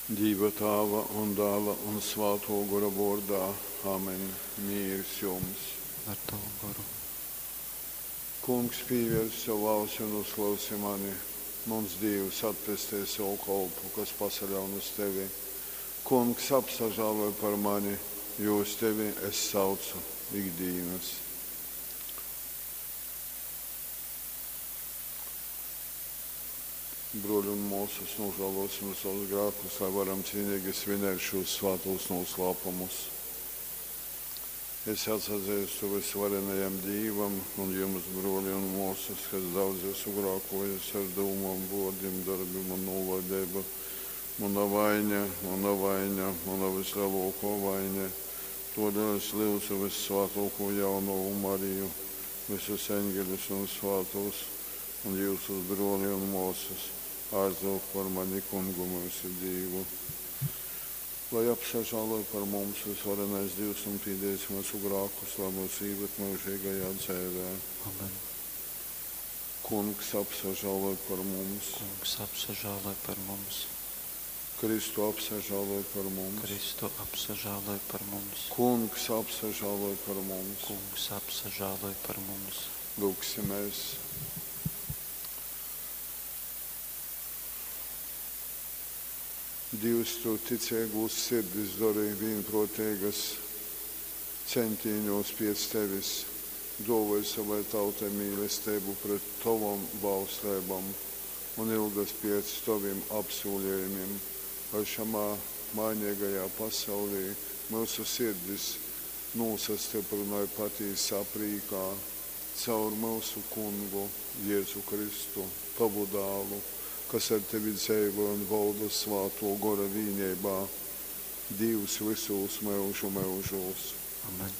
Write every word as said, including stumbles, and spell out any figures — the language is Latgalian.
Dīva Tāva un Dāla un Svātō Gora vōrdā. Amen. Mīrs jums! Ar tavu goru. Kungs, pīvērs sovu ausi un uzklausi mani. Muns Dīvs, atpestej sovu kolpu, kas pasaļaun uz tevi. Kungs, apsažāloj par mani, jo uz tevi es saucu ik dīnas. Bruoļi un muosys, nūžāluosim sovus grākus, lai varam cīnīgi svinēt šūs svātūs nūslāpumus. Es atsazeistu vysvarenajam Dīvam un jums, bruoli un muosys, ka es daudz esmu grākuojis ar dūmom, vuordim, dorbim un nūlaideibu. Muna vaiņa, muna vaiņa, muna vysleluokuo vaiņa. Tuodēļ es lyudzu vyssvātuokū jaunovu Mariju, vysus eņgeļus un svātūs, un jiusus, bruoli un muosys, aizlyugt par mani Kungu myusu Dīvu. Lai apsažāloj par mums vysvarenais Dīvs un pīdēs myusu grākus, lai myus īvad myužīgajā dzeivē. Amen. Kungs apsažāloj par mums. Kungs, apsažāloj par mums. Kristu apsažāloj par mums. Kristu, apsažāloj par mums. Kungs apsažāloj par mums. Kungs, apsažāloj par mums. Lūgsimies. Dīvs, tu ticeigūs sirdis dori vīnpruoteigas ceņtīņūs piec tevis, duovoj sovai tautai mīlesteibu pret tovom bausleibom un ilgas piec tovim apsūlejumim, lai šamā maineigajā pasaulī myusu sirdis nūsastyprynoj patīsā prīkā. Caur myusu Kungu Jezu Kristu, tovu Dālu, kas ar tevi dzeivoj un volda Svātuo Gora vīneibā, Dīvs vysūs myužu myužūs. Amen.